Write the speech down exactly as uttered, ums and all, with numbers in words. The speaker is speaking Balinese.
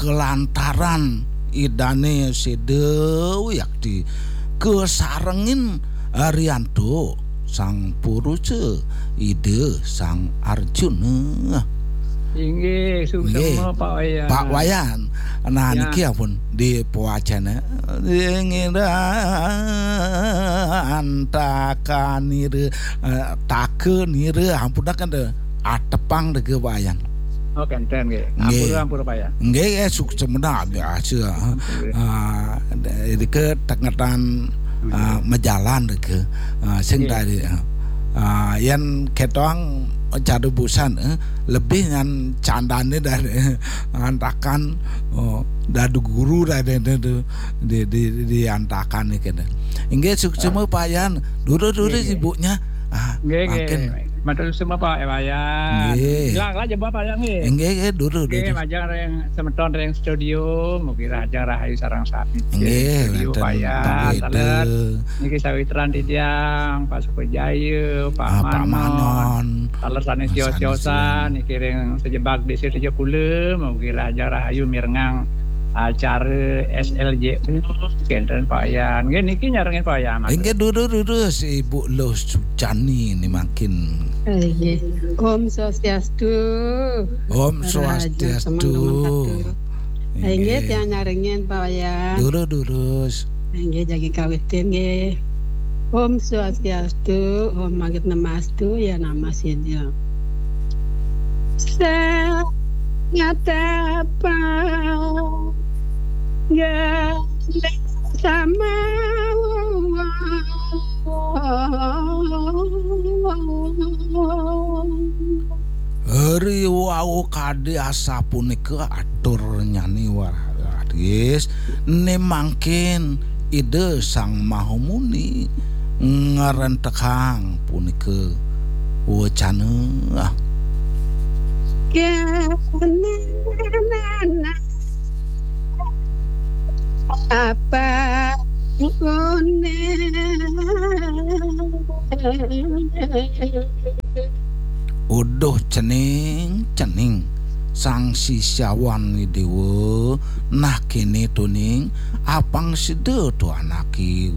kelantaran Idane Seda Wiakti kasarengin Arianto Sang Purusa Ida Sang Arjuna. Inggih, suksma, Pak Wayan. Pak Wayan. Nah, ya, niki ampun dipawacana. Inggih, antakanira, eh, takanira, ampun, kan, atepang dege, Pak Wayan. Oh, kenten, nggih. Nggih. Ampura, ampura, Pak Wayan. Nggih, nggih, suksma, biasa. Nggih. Ah, deke tengetan, ah, majalan deke. Ah, sing, nggih, tadi, ah, yen ketong cara busan, eh, lebih ngan candane dari, eh, antakan, oh, dadu guru dari, dari, di, di, di antakan niki. Inggih, suksma, Pak Wayan. Dulu, dulu, nggih, nggih, ibunya. Ah, nggih, nggih, makin. Matur suksma, Pak Wayan. Nggih. Ilang aja, Pak Wayan, nggih. Nggih, nggih, dulu, nggih, dulu. Majeng ring semeton ring studio, mugi rahajeng rahayu sareng sami. Nggih, studio, wenten, Pak Wayan, nggih, taler. Niki sawitran titiang, Pak Sukajaya, Pak, ah, Pak Manon. Manon. Taler sanes, sanes tiosan, tiosan, niki ring sajebag desa Tejapula, mugi rahajeng rahayu mirengang acara S L J U, kenten, Pak Wayan. Nggih, niki nyarengin, Pak Wayan. Inggih, durus, durus, Ibu Luh Sucani niki mangkin. Inggih. Om Swastiastu. Om Swastiastu. Rahajeng semanten. Inggih, inggih, tiang nyarengin, Pak Wayan. Durus, durus. Inggih, jagi kawitin, nggih. Om Swastiastu, Om Awighnamastu, ya nama sida. Sangatapa galih sama. Riwau kadi asapunika atur nyani waris, ne mangkin Ida Sang Mahamuni ngrentekang punika wacana. Apa Uduh cening, cening Sang Sisyawan Dewa, nah kene tuning, apang sida tu anake